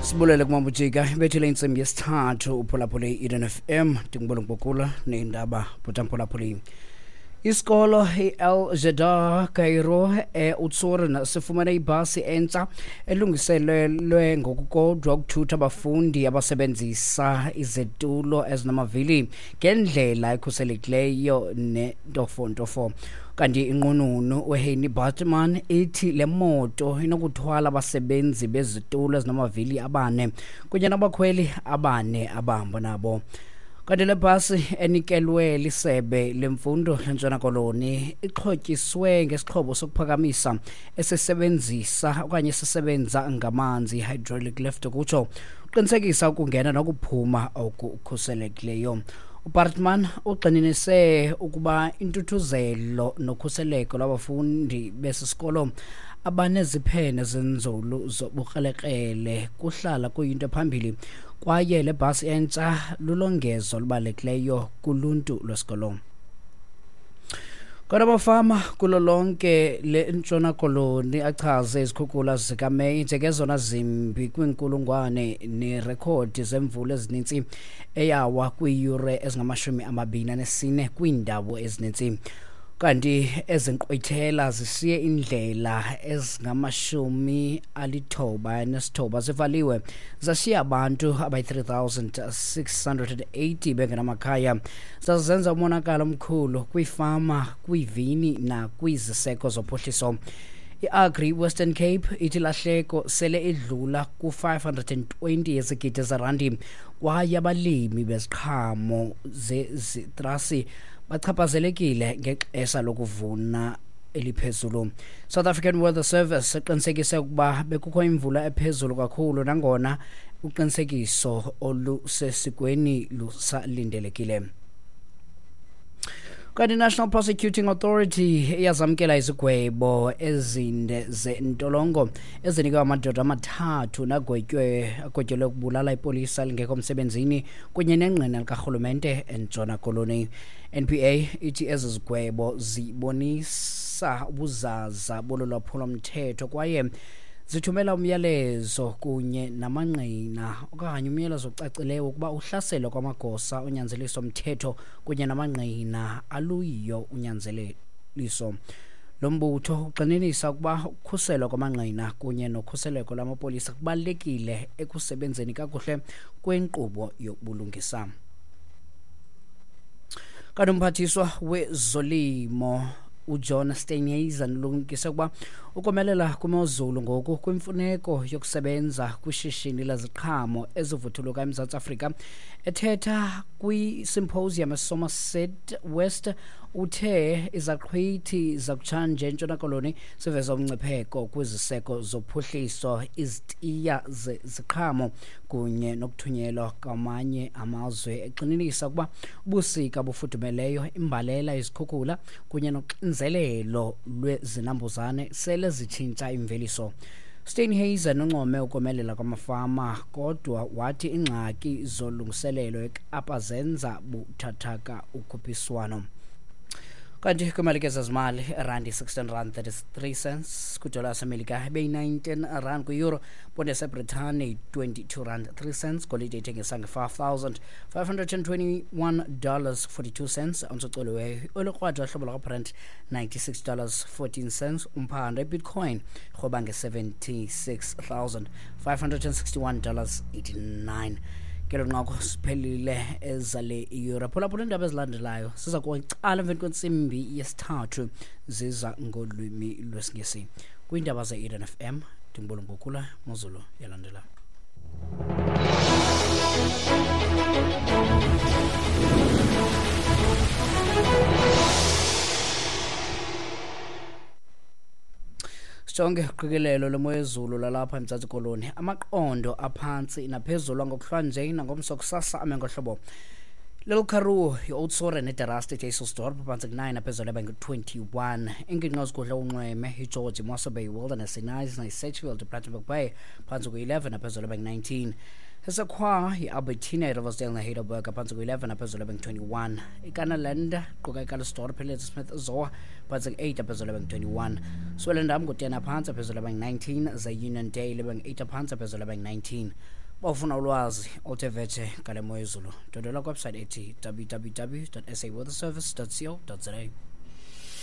Sibulele kumabujika ibethile intsimbi yesithathu, uphulaphule i-Eden FM. Ndingubona ngokula neendaba bhutamphulaphuli. Isikolo i-El Jeddah Cairo e-Oudtshoorn sifumene ibhasi entsha elungiselelwe ngokukodwa ukuthutha abafundi abasebenzisa izitulo ezinamavili ngendlela ekhuselekileyo nentofontofo. Kanti inqununu uHeini Bartman ithi le moto inokuthwala abasebenzi bezitulo ezinamavili abane kunye nabakhweli abane abahamba nabo. Kanti le bhasi enikelwe lisebe lemfundo leNtshona Koloni ixhotyiswe ngesixhobo sokuphakamisa esisebenzisa okanye esisebenza ngamanzi, hydraulic lift ukutsho, uqinisekisa ukungena nokuphuma okukhuselekileyo. UBartman ugxininise ukuba intuthuzelo nokhuseleko lwabafundi besi sikolo abaneziphene zenzulu zobukrelekrele kuhlala kuyinto ephambili, kwaye le bhasi entsha lulongezo olubalulekileyo kuluntu lwesikolo. Kodwa amafama kulo lonke le Ntshona Koloni achaze izikhukula zikaMeyi njengezona zimbi kwiinkulungwane neerekhodi zemvula ezininzi eyawa kwiiyure ezingama-24 kwiindawo ezininzi. Kanti ezi nkqwithela zishiye iindlela ezingama-99 zivaliwe, zashiya abantu abayi-3680 bengenamakhaya, zazenza umonakalo omkhulu kwiifama, kwiivini nakwiziseko zophuhliso. I-Agri Western Cape ithi lahleko sele idlula ku-520 yezigidi zerandi, kwaye abalimi beziqhamo zezitrasi bachaphazelekile ngexesha lokuvuna eliphezulu. South African Weather Service iqinisekise ukuba bekukho imvula ephezulu kakhulu, nangona uqinisekiso olusesikweni lusalindelekile. Kanti i-National Prosecuting Authority iyazamkela izigwebo ezinde zentolongo ezinikwe amadoda amathathu nagwetywe agwetyelwe ukubulala ipolisa elingekho msebenzini kunye nengqina likarhulumente eNtshona Koloni. NPA ithi ezi zigwebo zibonisa ubuzaza bolu lwaphulomthetho kwaye zithumela umyalezo kunye namangqina okanye umyalezo ocacileyo ukuba uhlaselo kwamagosa onyanzeliso mthetho kunye namangqina aluyiyo unyanzeliso. Lo mbutho ugxininisa ukuba ukukhuselwa kwamangqina kunye nokhuseleko lwamapolisa kubalulekile ekusebenzeni kakuhle kwenkqubo yobulungisa. Kanti umphathiswa wezolimo uJohn Steenhuisen ulumkise ukuba ukomelela kwimozulu ngoku kwimfuneko yokusebenza kwishishini leziqhamo ezivuthuluka eMzantsi Afrika. Ethetha kwisymposium eSomerset West, uthe izaqhwithi zakutshanje eNtshona Koloni ziveza umngcipheko kwiziseko zophuhliso, izitiya zeziqhamo kunye nokuthunyelwa kwamanye amazwe, egxininisa ukuba ubusika bufudumeleyo, imbalela, izikhukhula kunye noxinzelelo lwezinambuzane sele zitshintsha imveliso. Steenhuisen uncome ukomelela kwamafama, kodwa wathi iingxaki zolungiselelo eKapa zenza buthathaka ukhuphiswano. Kanti kwimali ke zezimali, irandi 16 rand 33 cents kwidola yaseMelika, ibeyi-19 rand kwi-euro, ponde yaseBritane 22 rand 3 cents, golide ithengisa nge-$5,521 42 cents ontsocoliweyo, olukrwada hlobo lwakaBrent $96 14 cents umphando, ibitcoin rhoba nge-$76,561 89. Ngelo nqaku siphelile ezale iyure. Phulaphula iindaba ezilandelayo ziza kucala emveni kwentsimbi yesithathu, ziza ngolwimi lwesiNgesi. Kwiindaba ze-Eden FM, ndingubolo ngokula mozulu yalandela. Sijonge uqikelelo lemo yezulu lalapha eMzantsi Koloni. Amaqondo aphantsi naphezulu angokuhlwanje nangomso kusasa ame ngohlobo. Little Karoo, i-Oudtshoorn neDerasti eDysselsdorp phantsi ku-9 aphezulu ebe ngu-21. Iingingqi ezigudle unxweme iGeorge, iMossel Bay, iWilderness, iKnysna, iSedgefield, iPlattenberg Bay phantsi ku-11 aphezulu ebe ngu-19. Esekhwa i-Albertina, iRiversdale neHeidelberg phantsi ku-11 aphezulu ebe ngu-21. IKanaland quka iCallsdorp, iLadysmith, Zoar phantsi ku-8 aphezulu ebe ngu-21. Swellendam ngu-10 aphantsi aphezulu ebe ngu-19. Ze-Uniondale ibe ngu-8 aphantsi aphezulu ebe ngu-19. Bawufuna ulwazi oluthe vetshe ngale mo yezulu, ndwendwela kwiwebsite ethi www.saweatherservice.co.za.